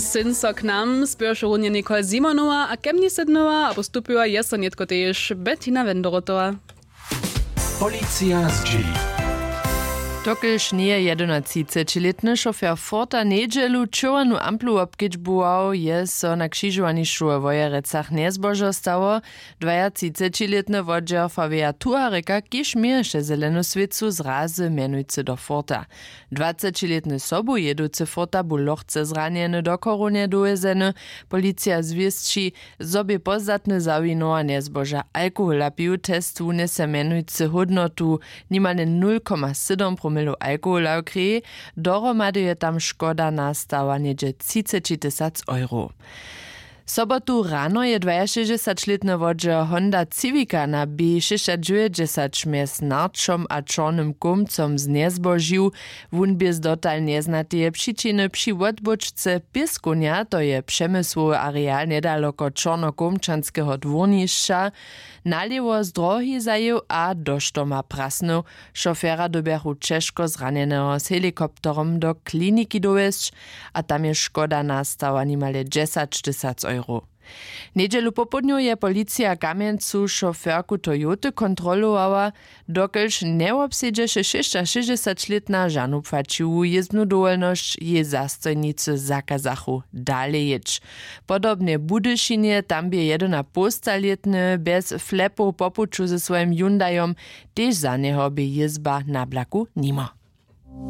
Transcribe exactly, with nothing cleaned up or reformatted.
Syn so k nam spěrše runje Nicole Simonowa a kemni sydnyła abo stupyła je so nětko tež Bettina Wendorotowa. Policija zdźěli. Dokelž njeje jedenatřicećilětny šofer Forta njedźelu čerwjenu amplu wobkedźbował, je so na křižowanišću we Wojerecach njezbožo stało. Dwajatřicećilětny wodźer Fabia Tuhareka, kiž měješe zelenu swěcu, zrazy mjenujcy do Forta. Dwacećilětny sobu jěducy Forta bu lochce zranjeny do chorownje dowjezeny. Policija zwěsći, zo bě pozdatny zawinowa njezboža alkohola pił. Test wunjese mjenujcy hódnotu nimale nul koma sydom promilow alkohola w kreji. Dohromady je tam škoda nastała něhdźe třiceći tysac euro. Sobotu rano je dwajašěsćdźesaćlětny wodźer Honda Civica na B šěsćadźewjećdźesać mjez Narčom a Čornym Kołmcom znjezbožił. Wón bě z dotal njeznateje přičiny při wotbóčce pěskownja, to je přemysłowy areal njedaloko čornokołmčanskeho dwórnišća, nalěwo z drohi zajěł a do štoma prasnył. Šofera dyrbjachu ćežko zranjeneho z helikopterom do kliniki dowjesć a tam je škoda nastała nimale dźesaćtysac euro. Njedźelu popołdnju je policija w Kamjencu šoferku Toyoty kontrolowała, dokelž njewobsedźeše šěsćašěsćdźesaćlětna žanu płaćiwu jězbnu dowolnosć, jej zastojnicy zakazachu dale jěć. Podobnje w Budyšinje, tam bě jedynapołstalětny bjez flepow po puću ze swojim Hyundaiom, tež za njeho bě jězba na blaku nimo.